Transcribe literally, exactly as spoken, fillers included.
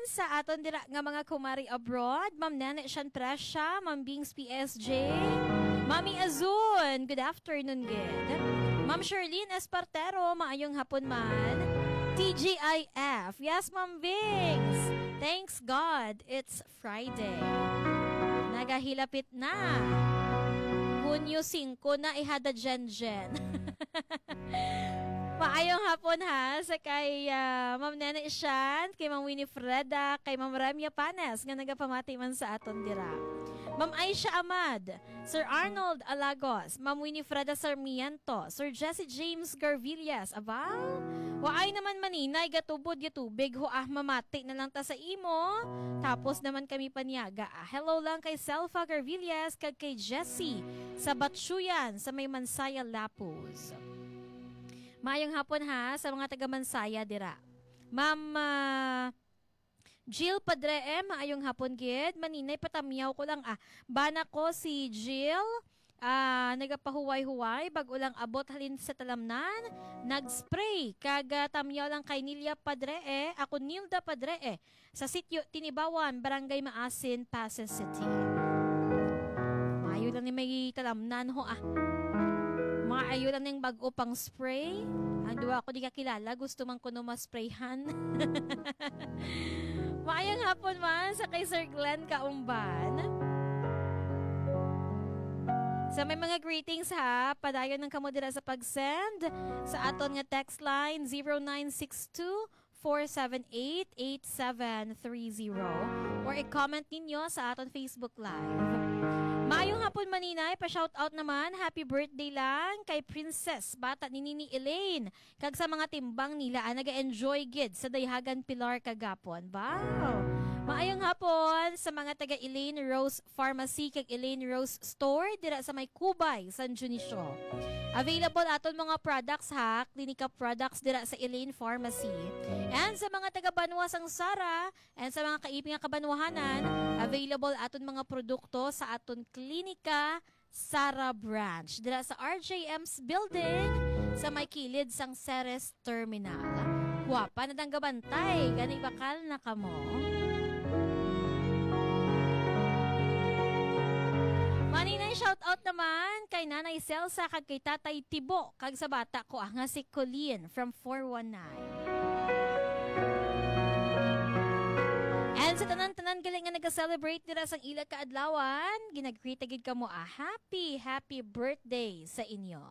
Sa aton dira nga mga kumari abroad, Ma'am Nene Shan Presha, Ma'am Bings P S J, Mami Azun, good afternoon, good. Ma'am Sherlyn Espartero, maayong hapon man. T G I F, yes, Ma'am Bings. Thanks God, it's Friday. Nagahilapit na. Hunyo singko na, ihada Jen Jen. Maayong hapon ha, sa kay, ah, Ma'am Nene Shan, kay Ma'am Winifreda, kay Ma'am Remia Panes, nga nagapamati man sa aton dira. Ma'am Aisha Ahmad, Sir Arnold Alagos, Ma'am Winifreda Sarmiento, Sir Jesse James Garvillas, aba? Waay naman maninay, gatubod, gatubig, ho ah, mamati na lang ta sa imo. Tapos naman kami paniaga, ah. Hello lang kay Selfa Garvillas, kag kay Jesse sa Batsuyan, sa may Mansaya, Lapuz. Maayong hapon ha, sa mga taga Mansaya dira. Ma'am, ah, Jill Padre, eh, maayong hapon gid. Maninay, patamyaw ko lang, ah. Bana ko si Jill, ah, nagapahuway-huway, bag-o lang abot halin sa talamnan. Nag-spray, kag, ah, tamyaw lang kay Nilia Padre, eh. Ako, Nilda Padre, eh. Sa sitio Tinibawan, Barangay Maasin, Passi City. Maayo lang ni may talamnan ho, ah. Maayo lang ning bag-o pang spray. Ang duwa ko di kakilala, gusto man kuno ma-sprayhan. Maayong hapon man sa kay Sir Glenn Kaumban. Sa may mga greetings ha, padayon lang kamo dira sa pag-send sa aton nga text line, zero nine six two, four seven eight, eight seven three zero, or i-comment ninyo sa aton Facebook Live. Maayong hapon, maninay. Pa-shoutout naman, happy birthday lang kay Princess, bata ni Nini Elaine, kag sa mga timbang nila, ah, naga-enjoy gid sa Dayhagan Pilar kagapon. Wow! Maayong hapon sa mga taga Elaine Rose Pharmacy kag Elaine Rose Store dira sa may Cubay, San Dionisio. Available aton mga products ha, Klinika products dira sa Elaine Pharmacy. And sa mga taga Banwa sang Sara and sa mga kaiping nga kabanwahanan, available aton mga produkto sa aton Klinika Sara Branch dira sa R J M's Building sa may kilid sang Ceres Terminal. Guwapa na dang gabantay, gani bakal na kamo. Maninay, shout out naman kay Nanay Celsa kag kay Tatay Tibo kag sa bata ko, ah, nga si Colleen from four one nine. And sa tanan-tanan gali nga naga-celebrate dira sang ila kaadlawan, ginagreet gid kamo, ah, happy, happy birthday sa inyo.